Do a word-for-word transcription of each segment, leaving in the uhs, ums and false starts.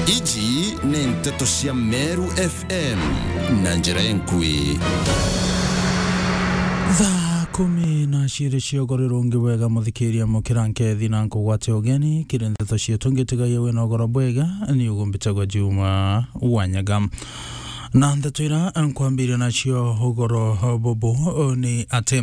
Iji ni nteto cia Meru F M na njira enkui. Thaa kumi na ciiri cia ugoro rungi bwega, muthikiria, mukira nkethi na nkugwate ugeni kiri nteto cietu. Ngitigaia wina ugoro bwega, ni ugumbitagwa Juma Wanyaga. Na nteto ira nkwambiria nacio ugoro bubu ni ati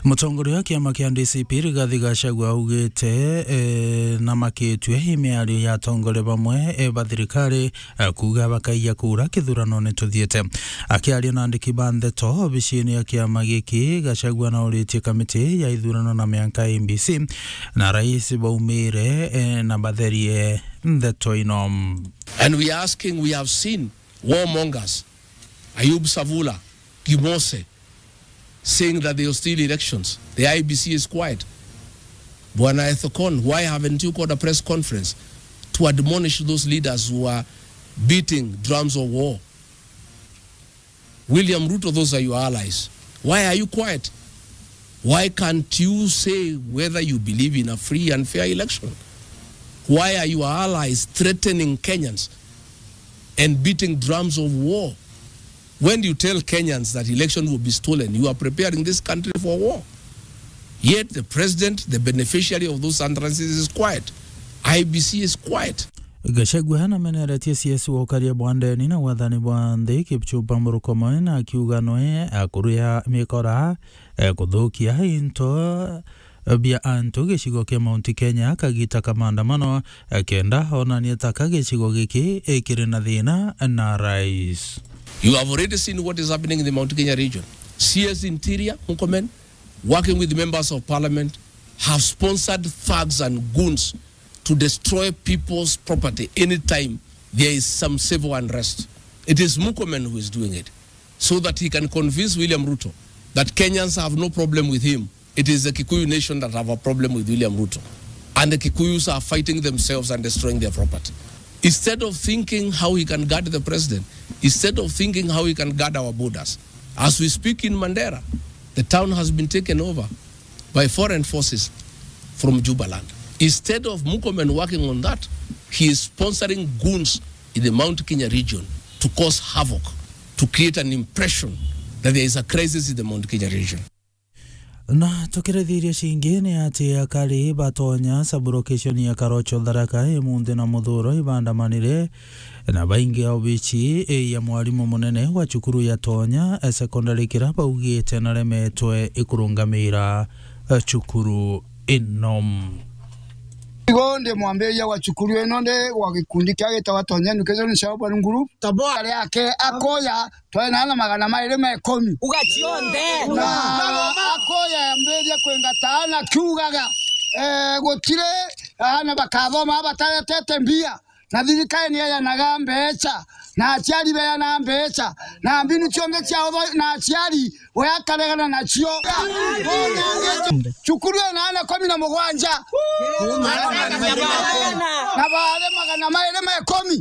mutongoria wa kiama kia D C P Rigathi Gachagua augite, eh, na makitue i miario ya atongoria bamwe, eh, ba thirikari, eh, kuuga bakaija kura kithuranone tuthiite. Akiaria na andiki ba nteto obicini ya kiama giki, Gachagua nauritie kamiti ya ithurano na mianka, I E B C, na rais baumire, eh, na batherie nteto ino. And we are asking, we have seen warmongers, Ayub Savula, Gimose, saying that they will steal elections. The I E B C is quiet. Bwana Ethekon, why haven't you called a press conference to admonish those leaders who are beating drums of war? William Ruto, those are your allies. Why are you quiet? Why can't you say whether you believe in a free and fair election? Why are your allies threatening Kenyans and beating drums of war? When you tell Kenyans that election will be stolen, you are preparing this country for war. Yet the president, the beneficiary of those utterances, is quiet. I E B C is quiet. Gachagua nameneretie C S wa ukaria bwa ndeni na wathani bwa nthi, Kipchumba Murkomen, akiuga nwe akuria mikora, eh, kuthukia into bia antu gicigo kia Mount Kenya kagita ka maandamano, eh, kenda onanie taka gicigo giki, eh, kiri na thina na rais. You have already seen what is happening in the Mount Kenya region. C S Interior, Murkomen, working with members of parliament, have sponsored thugs and goons to destroy people's property anytime there is some civil unrest. It is Murkomen who is doing it, so that he can convince William Ruto that Kenyans have no problem with him. It is the Kikuyu nation that have a problem with William Ruto. And the Kikuyus are fighting themselves and destroying their property. Instead of thinking how he can guard the president, instead of thinking how he can guard our borders, as we speak in Mandera, the town has been taken over by foreign forces from Jubaland. Instead of Murkomen working on that, he is sponsoring goons in the Mount Kenya region to cause havoc, to create an impression that there is a crisis in the Mount Kenya region. Na tukirithiria cingi ni ati akari ba Tonya sub-location ya Karocho Tharaka imunthi na muthuro ibandamanire na baingi obici ya mwarimu munene wa cukuru ya Tonya, eh, secondary, kira baugite naremetwe ikurungamira, eh, cukuru ino. Igo ndi mwambiria wa cukuru ino, ndi wa gikundi kia gitagwa Tonya Education Shelburne Group. Tabora riake akoya twena ana magana mairi ma ikumi. Uga cionthe. Na akoya yambirie kwingata ana kiugaga, eh, gutiri ana bakathoma bataretete mbia. Na thirikari ni yayanaga mbeca, na aciari beyana mbeca, na mbinu cionthe cia utho-, na aciari we akaregana nacio. Cukuru ina ana kumi na mugwanja. Na baari magana mairi ma ikumi.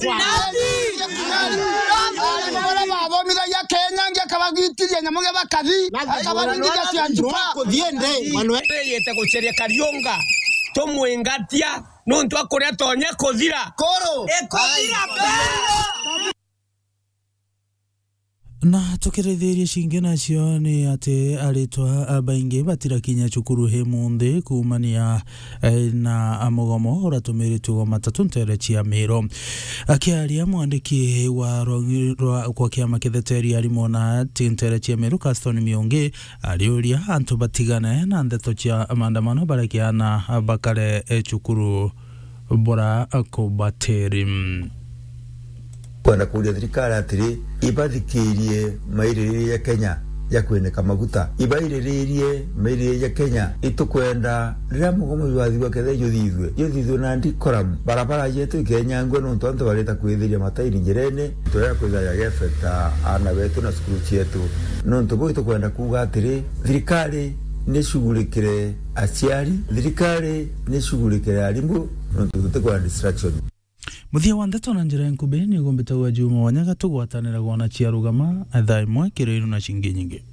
Ari baria bathomithagia Kenya ngi akabagitiria nyamu gia bakathi, akabathithia cia njuka. Yite guceria Kariunga, tumwingatia nuntu akuria Tonya kuthira. Kuru. Ikuthira. Na tukirithiria cingi nacio ni ati aritwa baingi batirakinya cukuru imunthi kuumania, eh, na mugomo uratumiritwe gwa matatu ntere cia Miru. Akiaria mwandiki wa rwa, rwa, kwa kiama kitheteria arimu na ti ntere cia Miru, Caston Miungi, ariuria antu batigane na ndeto cia maandamano barekiana bakare, eh, cukuru bura kubatiri. Kwenda kuuria thirikari atiri, ibathikirie maiririria ja Kenya ja kwinika maguta. Ibairiririe maiririria ja Kenya. Itukwenda riria mugomo jwathithua kethira juthithue, juthithue na decorum. Barabara jetu ikenyangua nontu antu barita kwithiria matairi njirene. Twega kwithira jagefeta aana betu na cukuru cietu. Nontu buu itukwenda kuuga atiri, thirikari ni shughurikire aciari, thirikari ni shughurikire arimu, nontu tutikwenda distraction. Muthia wa ndeto na njira nkubi ni ugumbitagwa Juma Wanyaga, tugwataniragwa na Cia Rugama, thaa imwe kiri iru na cingi nyingi.